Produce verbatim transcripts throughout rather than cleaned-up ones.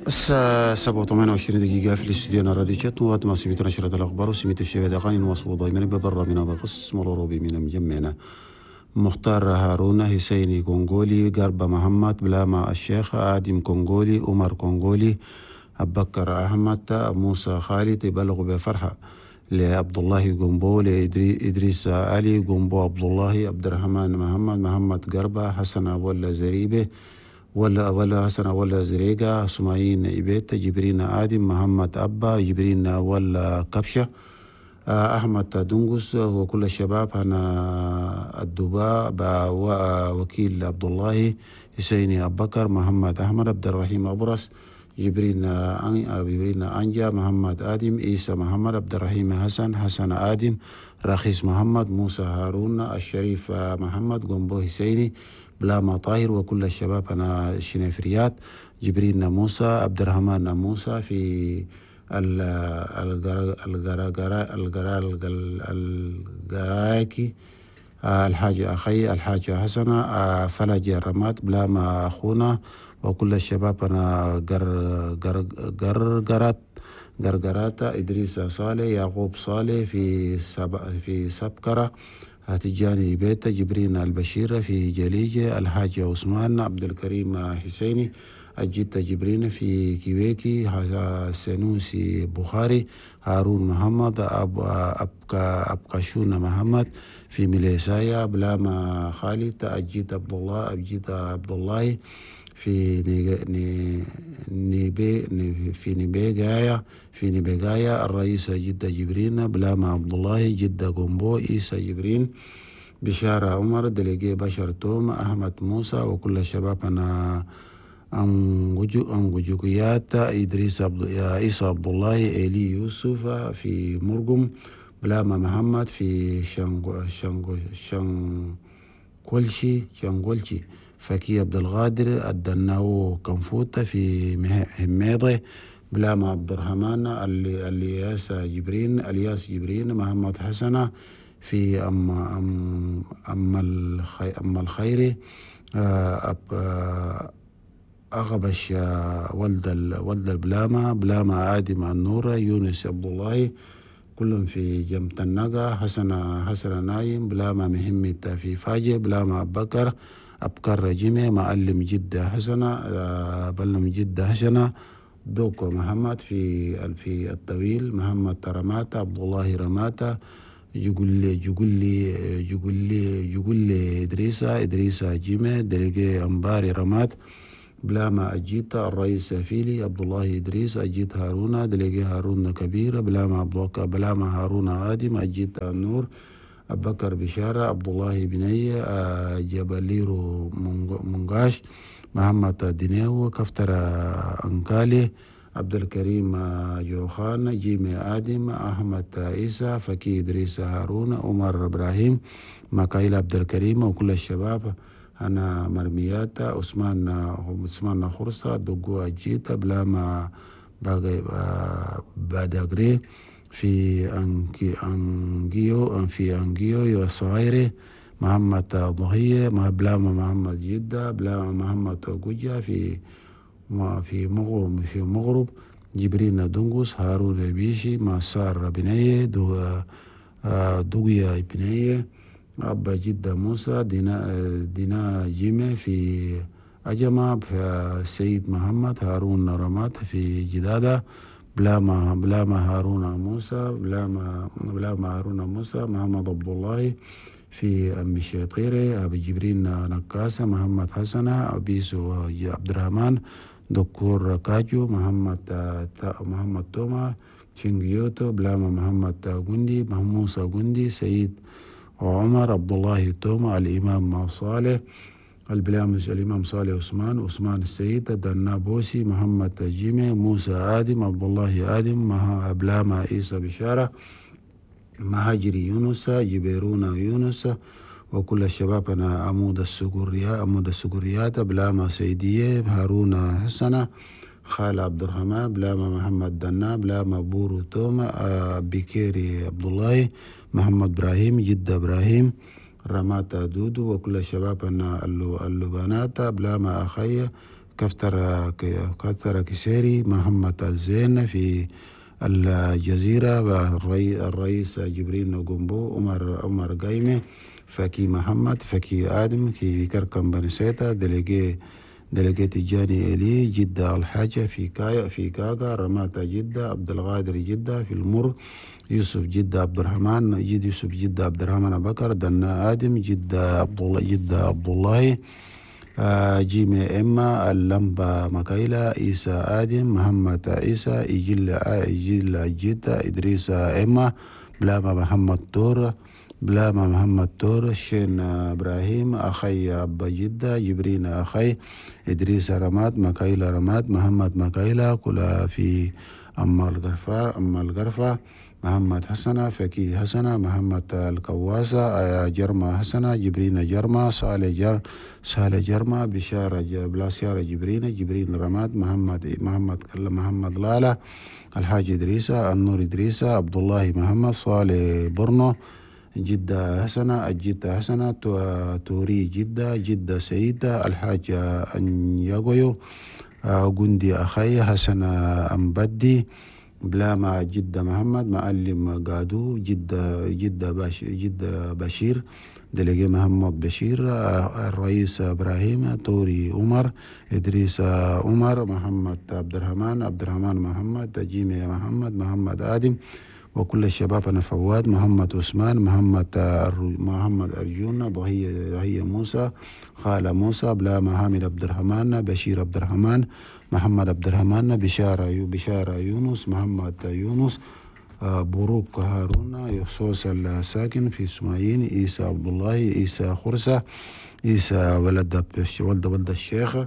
الساعة سبعة وثمانية وعشرين دقيقة في الاستديو راديو شات وقت ما سميت نشرة الأخبار وسميت الشباب أغاني نواصل دائما ببرنامجنا بقسم الأوروبي من مجمعنا مختار هارون حسيني كونغولي قرب محمد بلاما الشيخ آدم كونغولي عمر كونغولي أبكر أحمد موسى خالد يبلغ بفرحة لعبد الله جومبو لإدريس علي جومبو عبد الله عبد الرحمن محمد محمد قربة حسن ولا زريبة ولا ولا حسن ولا زريقة سماعين إبيت جبرين آدم محمد أبا جبرين ولا كبشة أحمد دنقس وكل الشباب هنا الدباء وكيل عبد الله حسيني أبو بكر محمد أحمد عبد الرحيم أبرس جبرين جبرين أنجا محمد آدم عيسى محمد عبد الرحيم حسن حسن آدم رخيص محمد موسى هارون الشريف محمد قنبو حسيني بلاما طاهر وكل الشباب أنا الشنفريات جبرين موسى عبد الرحمن موسى في الجراكي الحاج أخي الحاج حسنة فلج الرماد بلاما أخونا وكل الشباب أنا قرقرات قرقرات إدريس صالح يعقوب صالح في سب في سبكرة تجاني بيتا جبرين البشير في جليجة الحاج عثمان عبد الكريم حسيني أجيت جبرين في كيويكي سنوسي بخاري هارون محمد أب أبقى أبقشون محمد في مليسايا بلاما خالد أجيت عبد الله أجيت عبد الله في نيبي في نيبيغايا في نيبيغايا الرئيس جدة جبرين بلاما عبد الله جدة قنبو عيسى جبرين بشارة عمر دليجي بشر توم أحمد موسى وكل الشباب أنا أنجوجيات إدريس عبد عيسى عبد الله إلي يوسف في مرقم بلاما محمد في شانغو شانغو شانكولشي شانغولشي فكي عبد الغادر الدناو كنفوتة في هميضة بلاما عبد الرحمن الياس جبرين الياس جبرين محمد حسنة في أم أم أم الخي أم الخيري أب أغبش ولد ولد البلامة بلامة آدم النور يونس عبد الله كلهم في جنب النقا حسن حسن نايم بلامة مهمة في فاجة بلامة أبو بكر أبكر جيمي معلم جدة حسنة بلم جدة حسنة دوكو محمد في في الطويل محمد رماتا عبد الله رماتا يقول لي يقول لي يقول لي يقول لي إدريسا إدريسا جيمي دريجي أمباري رمات بلاما أجيتا الرئيس فيلي عبد الله إدريس أجيت هارون دليجي هارون كبير بلاما عبد الله بلاما هارون آدم أجيت النور أبو بكر بشارة عبد الله بني جبليرو منغاش محمد دينيو كفتر أنكالي عبد الكريم جوخان جيمي آدم أحمد عيسى فكي إدريس هارون عمر إبراهيم مكايل عبد الكريم وكل الشباب أنا مرميات عثمان عثمان خرصة دقو أجيتا بلاما بادغري في أنكي أنجيو في أنجيو يا محمد ضهية بلاما محمد جدة بلاما محمد جوجا في في مغرب في مغرب جبرين دونغوس هارون بيشي مسار بنية دو دوغيا بنية أبا جدة موسى دينا دينا جيمة في أجمع سيد محمد هارون رمات في جدادة بلاما بلاما هارون موسى بلاما بلاما هارون موسى محمد عبد الله في أم الشيطيري أبي جبرين نكاسة محمد حسنة أبيسو عبد الرحمن دكتور كاجو محمد محمد توما شنجيوتو بلاما محمد غندي موسى غندي سيد وعمر عبد الله توما الإمام صالح البلامس الإمام صالح عثمان عثمان السيد دنابوسي محمد جيمي موسى آدم عبد الله آدم بلاما عيسى بشارة مهاجري يونس جبيرون يونس وكل الشباب أنا عمود السكريات عمود السكريات بلاما سيدية هارون حسنة خال عبد الرحمن بلاما محمد دنا بلاما بورو توما بكيري عبد الله محمد إبراهيم جدة إبراهيم رماتا دودو وكل الشباب أن اللبانات بلاما أخي كفتر كفتر كسيري محمد الزين في الجزيرة، الرئيس جبرين جومبو، عمر عمر قايمة، فكي محمد، فكي آدم في كركم بنسيتا، دليجي دليجي تجاني إلي جدة، الحاجة في كايا في كاكا، رماتا جدة، عبد القادر جدة في المر، يوسف جدة عبد الرحمن جد يوسف جدة عبد الرحمن بكر، دنا آدم جدة عبد الله جدة عبد الله، جيمي إما اللمبة مكايلة، عيسى آدم، محمد عيسى، إجل إجل جدة، إدريس إما، بلاما محمد تور، بلاما محمد تور، شين إبراهيم أخي أبا جدة، جبرين أخي، إدريس رماد، مكايلة رماد، محمد مكايلة، كلا في أما الغرفة أما الغرفة، محمد حسنة، فكي حسنة، محمد الكواسة، جرمة حسنة، جبرين جرمة، صالح جر صالح جرمة، بشارة بلاسيارة جبرين، جبرين رماد، محمد محمد محمد لالا، الحاج إدريسة، النور إدريسة، عبد الله محمد، صالح برنو، جدة حسنة، الجدة حسنة، توري جدة، جدة سعيدة، الحاج أنياغويو، جندي أخي، حسن أمبدي، بلاما جدة محمد، معلم قادو، جدة جدة باش جدة بشير، دلقي محمد بشير، الرئيس إبراهيم، توري عمر، إدريس عمر، محمد عبد الرحمن، عبد الرحمن محمد، جيمي محمد، محمد آدم، وكل الشباب أنا فواد، محمد عثمان، محمد محمد أرجون، ضهية ضهية موسى، خالة موسى، بلاما حامد عبد الرحمن، بشير عبد الرحمن، محمد عبد الرحمن، بشارة بشارة يونس، محمد يونس، بروك هارون، يخصوص الساكن في اسماعيل، عيسى عبد الله، عيسى خرسة، عيسى ولد ولد ولد الشيخ،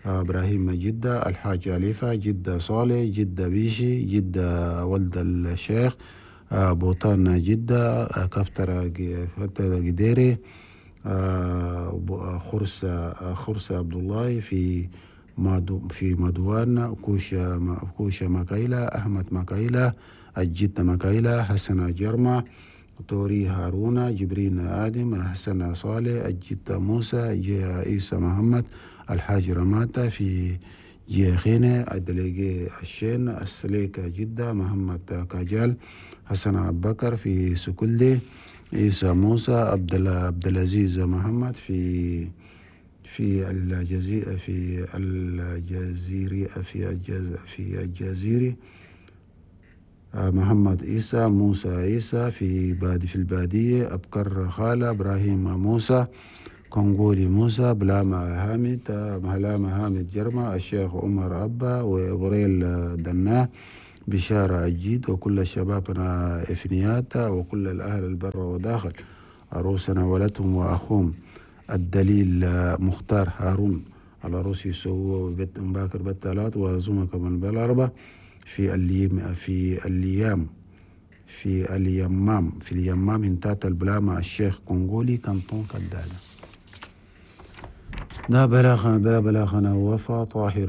ابراهيم جدة، الحاج أليفة، جدة صالح، جدة بيشي، جدة ولد الشيخ، بوطان جدة، كفترة قديري، خرسة خرسة عبد الله في مادو في مدوان، كوشة كوشة مكايلة، أحمد مكايلة، الجدة مكايلة، حسن جرمة، توري هارون، جبرين آدم، حسن صالح، الجدة موسى، عيسى محمد، الحاج رماتا في جيخينة، الدليجي الشين، السليكة جدة، محمد كاجال، حسن أبو بكر في سكلي، عيسى موسى، عبد العزيز محمد في في الجزيرة في الجزيرة في الجز في الجزيرة، محمد عيسى، موسى عيسى في بادي في البادية، أبكر خالة، إبراهيم موسى، كونغولي موسى، بلاما حامد، بلاما حامد جرمة، الشيخ عمر أبا، وإبريل دناه، بشارة أجيد، وكل شبابنا إفنياتا، وكل الأهل البر وداخل، عروسنا ولدهم وأخوهم الدليل مختار هارون على روسي سو بيت مباكر بالثلاث وزمك من بالأربعة في الليم في الليام في اليمام في اليمام انتات البلامة الشيخ كونغولي كانتون كدادة. ده بلاغ ده بلاغنا وفا طاهر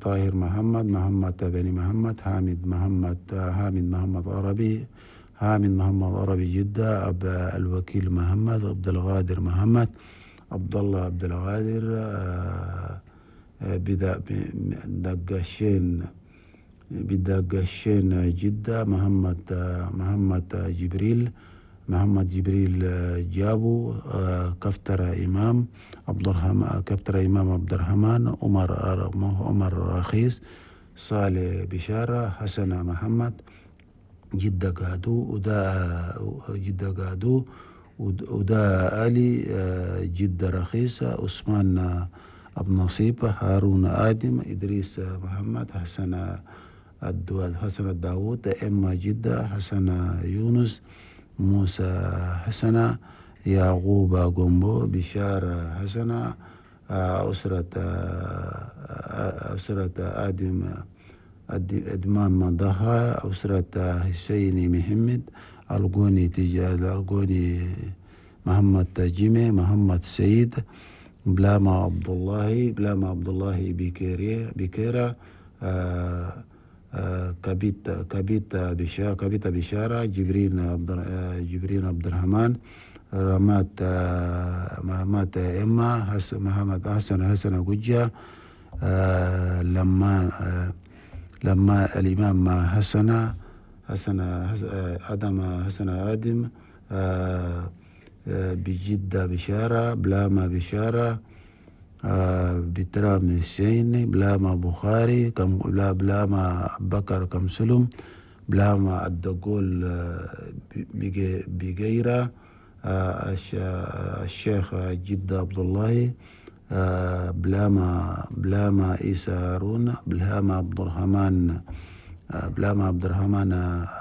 طاهر محمد، محمد بني محمد، حامد محمد، حامد محمد عربي، حامد محمد عربي جدة، أب الوكيل محمد، عبد القادر محمد، عبد الله عبد القادر، بدا دقشين بدقشين جدة، محمد محمد جبريل، محمد جبريل جابو، كفتر إمام عبد الرحمن، كفتر إمام عبد الرحمن، عمر عمر رخيص، صالح بشارة، حسن محمد، جدة قادو، ودا جدة قادو، ودا علي، جدة رخيصة، عثمان أبو نصيب، هارون آدم، إدريس محمد، حسن الدواد، حسن الداوود، إما جدة، حسن يونس، موسى حسنة، يعقوب جومبو، بشارة حسنة، أسرة أسرة آدم أدمان ضحى، أسرة حسين محمد، القوني تجال القوني محمد تجيمي، محمد سعيد، بلاما عبد الله، بلاما عبد الله بكيري بكيرة، كبيت كبيت بشارة كبيت بشارة، جبرين عبد جبرين عبد الرحمن، رمات محمد إما، محمد حسن حسن جوجا، لما لما الإمام حسن حسن آدم حسن آدم بجدة بشارة بلاما بشارة بترام السين بلاما بخاري كم بلا بلاما بكر كم سلم بلاما الدقول بجيرة الشيخ جدة عبد الله بلاما بلاما عيسى هارون بلاما عبد الرحمن بلاما عبد الرحمن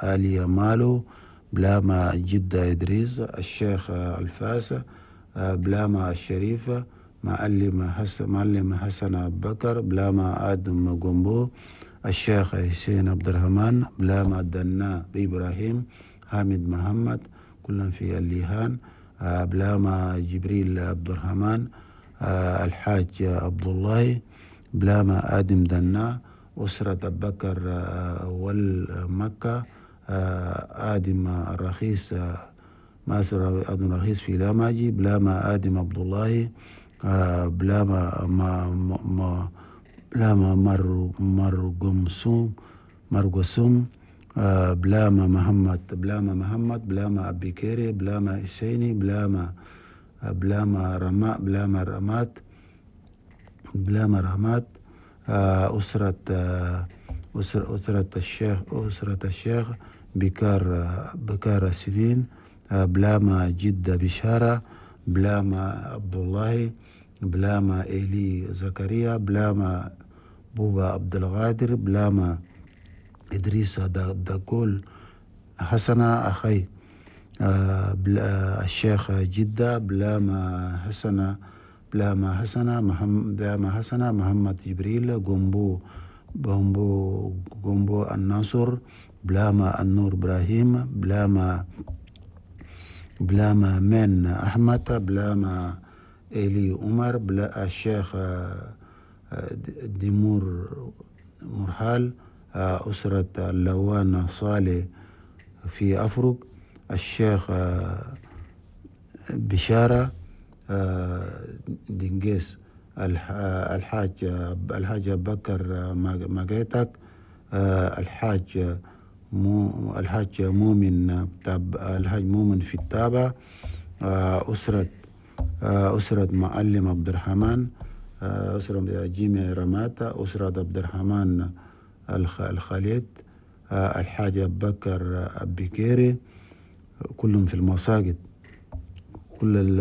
آلية مالو بلاما جدة إدريس الشيخ الفاس بلاما الشريفة معلم حسن معلم حسن أبو بكر بلاما آدم جومبو الشيخ حسين عبد الرحمن بلاما دنا إبراهيم حامد محمد كلهم في الليهان بلاما جبريل عبد الرحمن الحاج عبد الله بلاما آدم دنا أسرة أبو بكر والمكة آدم الرخيص ماسر آدم الرخيص في لاماجي بلاما آدم عبد الله بلاما ما ما بلاما مر مرقمسوم مرقسوم بلاما محمد بلاما محمد بلاما أبي كيري بلاما حسيني بلاما بلاما رماء بلاما رمات بلاما رمات أسرة أسرة أسرة الشيخ أسرة الشيخ بكار بكار السنين بلاما جدة بشارة بلاما عبد الله بلاما إيلي زكريا بلاما بوبا عبد القادر بلاما إدريس داكول حسنة أخي الشيخ جدة بلاما حسنة بلاما حسنة محمد بلاما حسنة محمد جبريل جومبو بومبو جومبو الناصر بلاما النور إبراهيم بلاما بلاما من أحمد بلاما إيلي عمر بلا الشيخ ديمور مرحال أسرة اللوان صالح في أفرق الشيخ بشارة دنجيس الحاج الحاج بكر ماجيتك الحاج مو الحاج مؤمن الحاج مؤمن في التابع أسرة أسرة معلم عبد الرحمن أسرة جيمي رماتا أسرة عبد الرحمن الخالد الحاج بكر أبيكيري كلهم في المساجد كل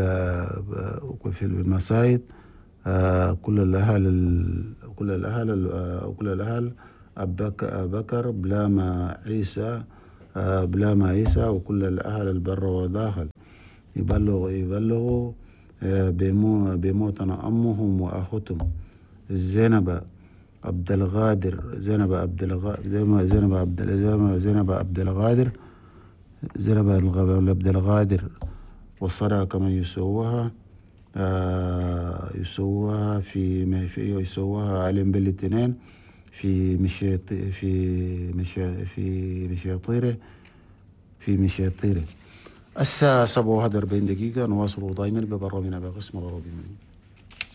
في المساجد كل الأهل كل الأهل كل الأهل أبكر بلاما عيسى بلاما عيسى وكل الأهل البر وداخل يبلغ يبلغوا بموتنا أمهم وأخوتهم زينب عبد الغادر زينب عبد الغادر زينب عبد زينب عبد الغادر زينب عبد الغادر والصلاة كما يسووها يسووها في في يسووها علم بالاثنين في مشيط في مشي في مشيطيره في مشيطيره. الساعة سبعة وأربعين دقيقة نواصل دائما ببرامجنا بقسم الغربي.